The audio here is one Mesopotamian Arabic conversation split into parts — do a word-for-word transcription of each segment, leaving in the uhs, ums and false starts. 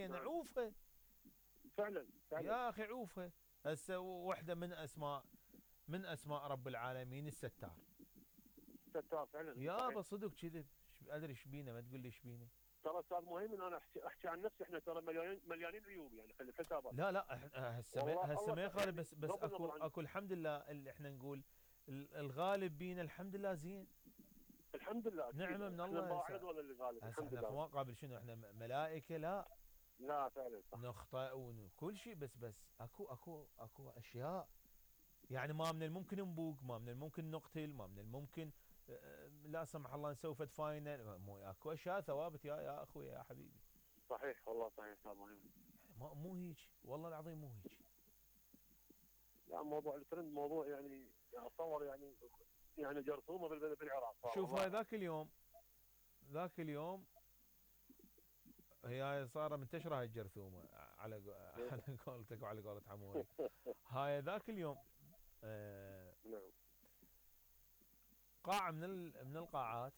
زينه عوفها. فعلا فعلا يا اخي عوفها. هسه وحده من اسماء من اسماء رب العالمين الستار. ستار فعلا يابا صحيح. صدق كذب. ادري ايش بينا، ما تقول لي ايش بينا. ترى استاذ مهم انا احكي, أحكي عن نفسي، احنا ترى مليانين مليانين عيوب يعني، خلي حسابك. لا لا إح- هسه ما- والله هسه الله ما ت- يخالف، يعني بس بس بغض اكو النظر عن، اكو الحمد لله اللي احنا نقول ال- الغالب بينا الحمد لله زين. الحمد لله اكيد نعمه من احنا الله. نراعي هسه رضوان اللي غالب هسه الحمد احنا في لله. مقابل شنو؟ احنا م- ملائكه؟ لا. لا فعلا صح. نخطئ وكل شيء، بس بس اكو اكو اكو اشياء يعني ما من الممكن نبوق، ما من الممكن نقتل، ما من الممكن آه، لا سمح الله نسوي فد فاينل. مو اكو اشياء ثوابت يا يا اخوي يا حبيبي. صحيح والله صحيح استاذ مهم. ما مو هيك والله العظيم مو هيك. لا موضوع الترند موضوع يعني اتصور يعني يعني جرثومه بال- بالعراق صار شوف هاي والله. ذاك اليوم ذاك اليوم هي صار منتشره هاي الجرثومه على قو- على قولتك وعلى قولة عموري. هاي ذاك اليوم آه، نعم. قاعه من ال- من القاعات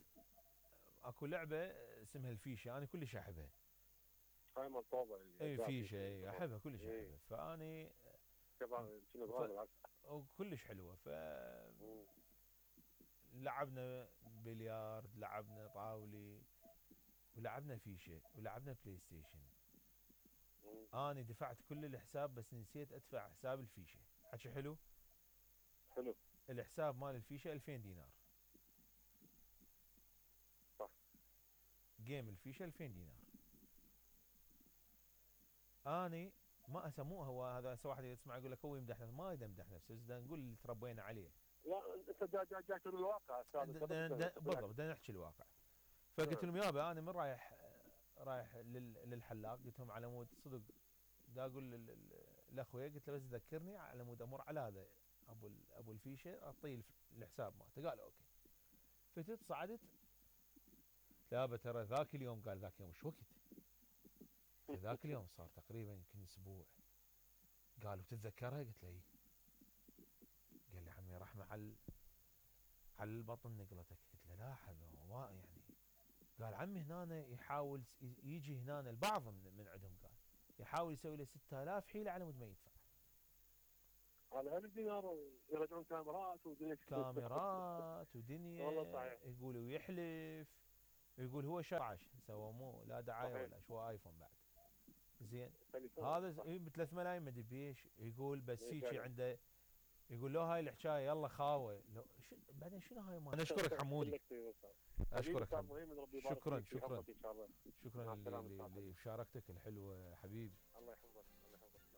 اكو لعبه اسمها الفيشه، انا كلش احبها. هاي ملطوبه اي يعني فيشه، اي احبها كلش اي احبها. فاني كمان شنو ف صغار بالعكس. كلش حلوه. ف مم. لعبنا بليارد، لعبنا طاولي، ولعبنا فيشه، ولعبنا بلاي ستيشن. مم. اني دفعت كل الحساب بس نسيت ادفع حساب الفيشه. حكي حلو. حلو. الحساب مال الفيشه ألفين دينار. صح. جيم الفيشه ألفين دينار. اني ما اسموه هو هذا. هسه واحد يسمع يقول لك هو يمدح نفسه، ما يقدر يمدح نفسه، بس بدنا نقول اللي تربينا عليه. لا انت جاي جاي جاي تقول الواقع استاذ، د- انت د- بس د- بالضبط بالعكس. بدنا نحكي الواقع. فقلت نعم. لهم يابا انا من رايح رايح لل- للحلاق، قلت لهم على مود صدق دا اقول لل- لل- لاخوي، قلت له بس ذكرني على مود امر على هذا ابو ال- ابو الفيشه اعطيه الف- الحساب مالته. قال اوكي. فتت صعدت. لا ترى ذاك اليوم، قال ذاك اليوم ايش وقت؟ ذاك اليوم صار تقريبا يمكن اسبوع. قالوا بتتذكرها؟ قلت له اي. قال لي عمي رحمه على على البطن نقلتك. قلت له لا حبيبي ما يعني. قال عمي هنا يحاول س- يجي هنا البعض من, من عندهم، قال يحاول يسوي له ستة آلاف حيله على مود ما يدفع. على هذا الدينار يرجعون كاميرات ودنيا. كاميرات والله ودنيا. صحيح. يقول ويحلف. يقول هو شرعش سوى مو لا دعايه صحيح. ولا شو ايفون بعد. زين. تليفون هذا صح. ب ثلاث ملايين ما ادري بيش. يقول بس إيه هيك فعلا. عنده. يقول له هاي الحكايه يلا خاوه لو شو بعدين شنو هاي ما. انا اشكرك حمودي. لك طيب أستاذ. حبيبي اشكرك استاذ حمودي. مهم، ربي يبارك شكرا فيك شكرا ويحفظك ان شاء الله. مع شكرا السلامه ل- استاذ ل- حبيبي. لمشاركتك الحلوه حبيبي. الله يحفظك.